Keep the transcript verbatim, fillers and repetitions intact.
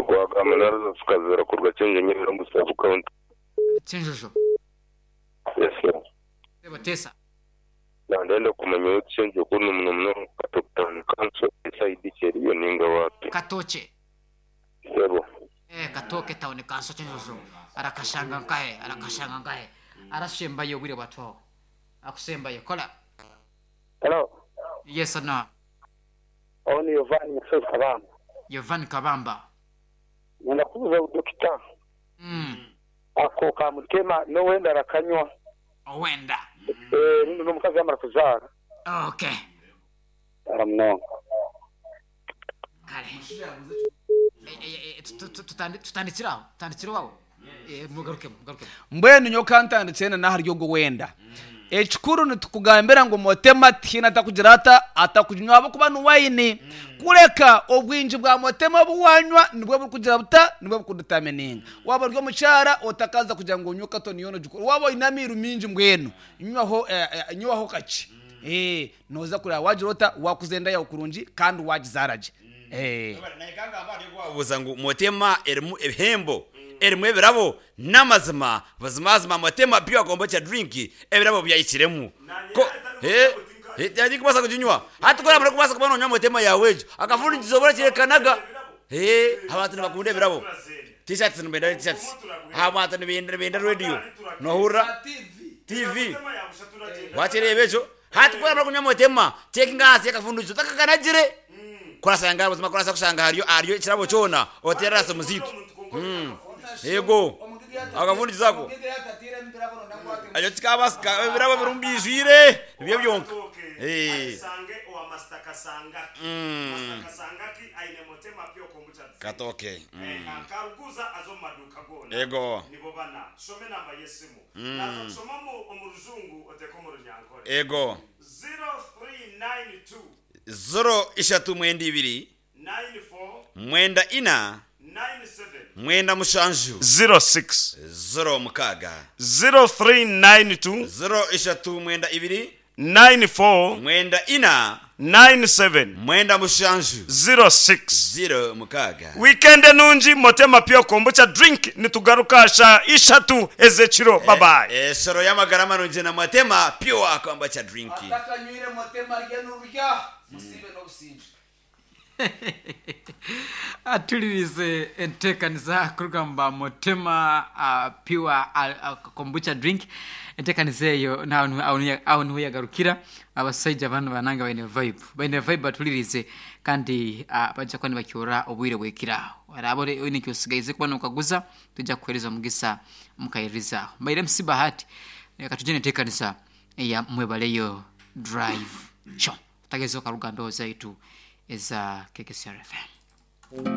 Ogwagamba naraza tukazira kuruga Kyenjojo omu sub county. Kyenjojo. Yes sir. Sebo teesa. Nandenda kumanya owu Kyenjojo kunu muno muno Katoke Town Council esayidi ki eriyo ninga waapi. Katookye. Sebo. Eh, Katooke Town Council Kyenjojo arakashanga nkahe arakashanga nkahe arashembayo obwire bwatwaho akusembayo kola. Hello. Yes or no? Onu Yovan Nyasozi Kabamba. Yovan Kabamba. Nyenda kubuza dokita. Mm. Ako kamutema n'owenda arakanywa. Owenda. Eh, rundi n'omukazi yamara kuzaara. Okay. Aramunonga. Kale. Eh, eh, eh, tu- tu- tutandi- tutandikire aho tutandikire aho Eh, mugarukemu mugarukemu. Mbwenu nyowe kantandikire na n'ahari ogwo wenda. Ekikuru nitukugambira ngu motema tihaine atakugira ata atakuginywa ahabw'okuba ni wayini. Kureka obwingi bwa motema obu wanywa nibwo burikugira buta nibwo burikudetamininga. Waaba ori omukyara otakaza kugira ngu onywe katoni yoona ogikore. Waaba oine amairu maingi mbwenu nywaho eh, eh, nywaho kakye. Eh, nooza kureeba waagira ota waakuza enda yaawe kurungi kandi waagizaara gye. Eh. Wabuuza ngu motema erimu ebihembo erimu ebirabo n'amazima buzimazima motema pure kombucha drink ebirabo byahikiremu ko eh tindikubaasa kuginywa hati ku oramara kubaasa kuba noonywa motema yaawe egyo akafundikizo orakyerekanaga eh abantu nibakunda ebirabo t-shirts nibenda t-shirts abantu nibenda nibenda radio nohurira T V wakireeba ekyo hati ku oramara kunywa motema cekinga ahansi y'akafundikizo otakakanagire kurasanga buzima kurasa kushanga hariyo hariyo ekirabo kyona oteerera aha simu zaitu. Yego akafundikizo ako ekyo kikabaasika ebirabo birimu byijwire nibyo byonka. Eh. Mm. Katooke. Mm. Ego. Mm. Ego. Zero ishatu mwenda ibiri mwenda ina mwenda mushanju zero six zero mukaaga zero three nine two zero ishatu mwenda ibiri nine four mwenda ina nine seven mwenda mushanju zero six zero mukaaga. Weekend nungi. Motema Pure Kombucha Drink. Nitugaruka sha ishatu ezekiro. Bye bye. Esoro y'amagara marungi na Motema Pure Kombucha Drink. Atakanywire motema arye n'orurya musiibe n'obusingye. Atulirize enteekaniza kuruga Motema uh, Pure uh, uh, Kombucha Drink. Enteekaniza eyo aho niho yagarukira. Abasaija banu bananga baine vibe baine vibe batulirize kandi uh, bajja kuba nibakyora obwire bwekiraho araba oine ekyosigaize kuba nokaguza tujja kukuhereza omugisa mukayirizaho mbaire M C Bahati. Reka tugye nenteekaniza eya Mwebaleyo Drive Show tutagezeho karuga mbeho zaitu eza K K C R F M.